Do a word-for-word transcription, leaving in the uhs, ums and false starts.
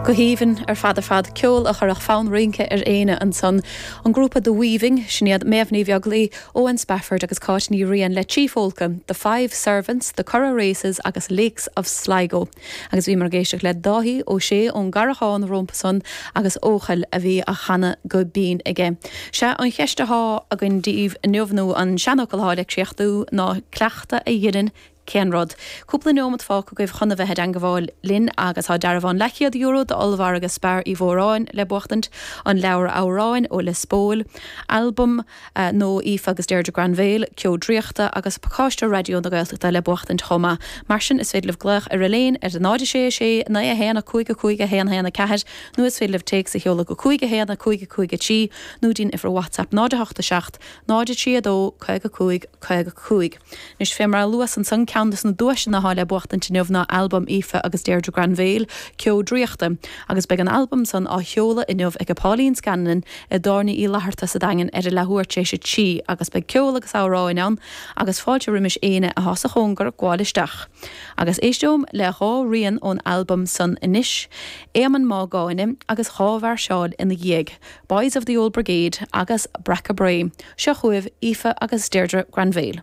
Go haoibhinn ar fad ar fad ceol a chuirfeadh fonn rince ar éinne ansan. An grúpa The Weaving sin iad Méabh Ní Bheaglaoich, Owen Spafford agus Cáit Ní Riain le trí phólca, The Five Servants, The Curragh Races agus Lakes of Sligo. Agus bhíomar ag éisteacht le Dáithí Ó Sé ón gCarrachán rompu san agus Eochaill a bhí á chanadh go binn aige. Sé an cheist atá againn daoibh inniu nó an seanfhocal atá le críochnú ná cleachtadh a dhéanann cén rud. Cúpla nóiméad fágtha agaibh chun a bheith i dteagmháil linn agus tá dearbhán leathchéad euro d'ollmhargadh Spar Uí Mhóráin le buachtaint an leabhar amhráin ó Lios Póil, albam uh, nó Aoife agus Deirdre Granville, Ceo Draíochta agus pacáiste Raidió na Gaeltachta le buachtaint chomh maith. Mar sin is féidir libh glaoch ar a haon ar náid sé sé naoi a haon a cúig a cúig a haon haon a ceathair nó is féidir libh téacs a sheoladh go cúig a haon a cúig a cúig a trí nó dtí'n uimhir WhatsApp náid a hocht a seacht náid a trí a dó caoga cúig caoga cúig. Anois fé mar a luas ansan ceann des na duaiseanna atá le buachtaint inniu ná albam Aoife agus Deirdre Granville Ceo Draíochta, agus beidh an albam san á sheoladh inniu ag Pauline Scanlon i dTábhairne Uí Fhlatharta sa Daingean ar a leathuair tar éis a trí agus beidh ceol agus amhráin ann agus fáilte roimis éinne atá sa chóngar gabháil isteach. Agus éisteom le dhá rian ón albam san anois, Éamonn Má Gáinne agus dhá mhairseáil ina dhiaidh, Boys of the Old Brigade agus Breaca Bré, seo chugaibh Aoife agus Deirdre Granville.